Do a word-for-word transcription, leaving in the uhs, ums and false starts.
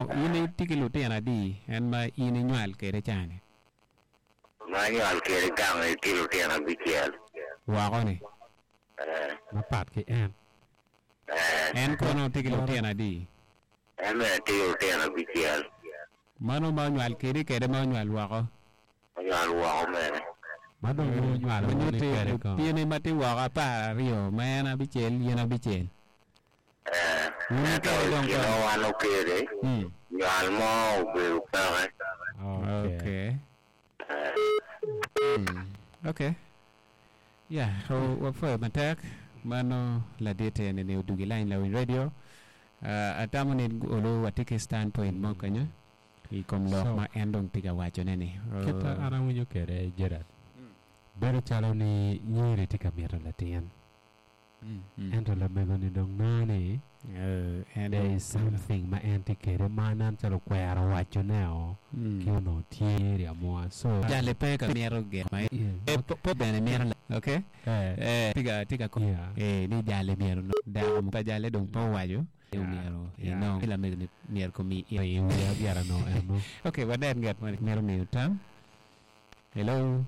In itye ki lutino adi en ma in inywal kede cani? Ma anywal kede gang tye lutino abicel. Woko ni? Eh. Mapat ki en. Eh. En kono tye ki lutino adi? En bene tye ki lutino abicel. Mano ma onywal kedi kede ma onywal woko? Onywal woko mene. Ma dong ma onywalo Ma woko ni nyutti kede ko. lutini ma tye woko apar aryo ma en abicel yin abicel. Eh. Wun Ento kede i dong kine kono? wan okede, Mm. nywal mo obedo peke. Okay. Okay. Eh. Mm. Okay. Yeah, o wapwoyo matek mano ladit eni ni odugi line lawiny radio. Uh, atamo ni olu watye ki standpoint mo kenyo i kom lok So, ma en dong tye ka wacone ni. kita Uh, an awinyo kede Gerard. Bedo calo ni nyiri tye ka mito latin. mm, mm. Ento lamego ni dong nongo ni Uh, en there dong is something ma en tye kede ma nen calo okwero wacone o mm. ki onongo tye eri amua. So, Jali pe ka mito gin ma yeah, e, okay. po, po bene mito la- okay Eh, eh tiga tiga ko yeah, eh ni jali myero no dako mo pa jali dong pe owaco ni yeah, myero yeah. inong lamego ni myero komi I wiya byera no eno. Okay, wanen ngat mo ni mito miyo tam. Hello.